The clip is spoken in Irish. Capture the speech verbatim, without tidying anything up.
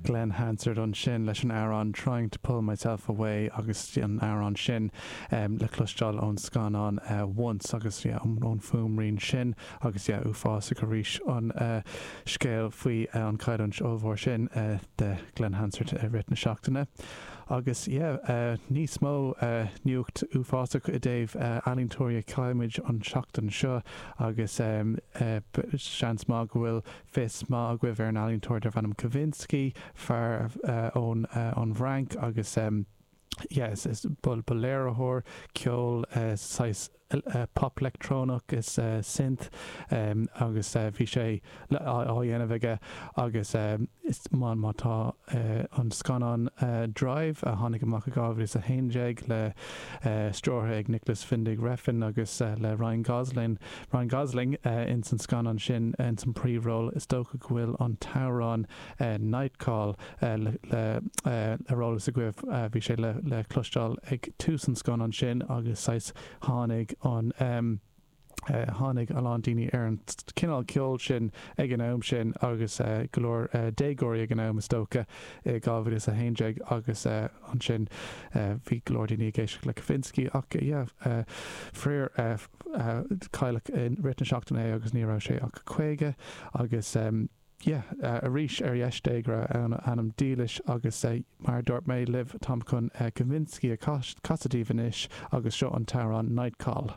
Glen Hansard ansin leis an amhrán Trying to Pull Myself Away agus an amhrán sin um, le cloisteáil ón scannán uh, Once agus yeah, ón fuaimrian sin agus yeah, uafásach arís an uh, scéal faoi uh, an chailliúint ollmhór sin uh, de Glen Hansard uh, rith na seachtaine. Agus yeah, uh, níos mó uh, nuacht uafásach i dtaobh uh, ealaíontóirí a chaill muid an seachtain seo agus um, uh, seans maith go bhfuil fios maith agaibh ar an ealaíontóir darb ainm Kavinsky fear uh, ón uh, ón bhFrainc agus um, yes, is ba léiritheoir ceol uh, saghas uh, pop leictreonach is uh, synth um, agus uh, bhí sé á dhéanamh aige agus um, is má má tá uh, an scannán uh, Drive a tháinig amach i dhá mhíle a haon déag le uh, stiúrtha ag Nicolas Winding Refn agus uh, le Ryan Gosling Ryan Gosling uh, in san scannán sin in san príomhról is dócha go bhfuil an t-amhrán uh, Nightcall uh, le, le, uh, ar eolas agaibh uh, bhí sé le, le cloisteáil ag tús an scannán sin agus saghas tháinig an um, Uh, tháinig a lán daoine ar an cineál ceol sin ag an am sin agus uh, go leor uh, déagóirí ag an am is dócha i dhá mhíle a haon déag agus uh, ansin uh, bhí go leor daoine ag éisteacht le Kavinsky ach uh, yeah, uh, fíor uh, uh, cailleadh in rith na seachtaine agus ní raibh sé ach caoga agus um, yeah, uh, arís ar dheis Dé go raibh an anam dílis agus uh, mar dúirt mé libh táim chun uh, Kavinsky a casadh daoibh anois agus seo an t-amhrán Nightcall.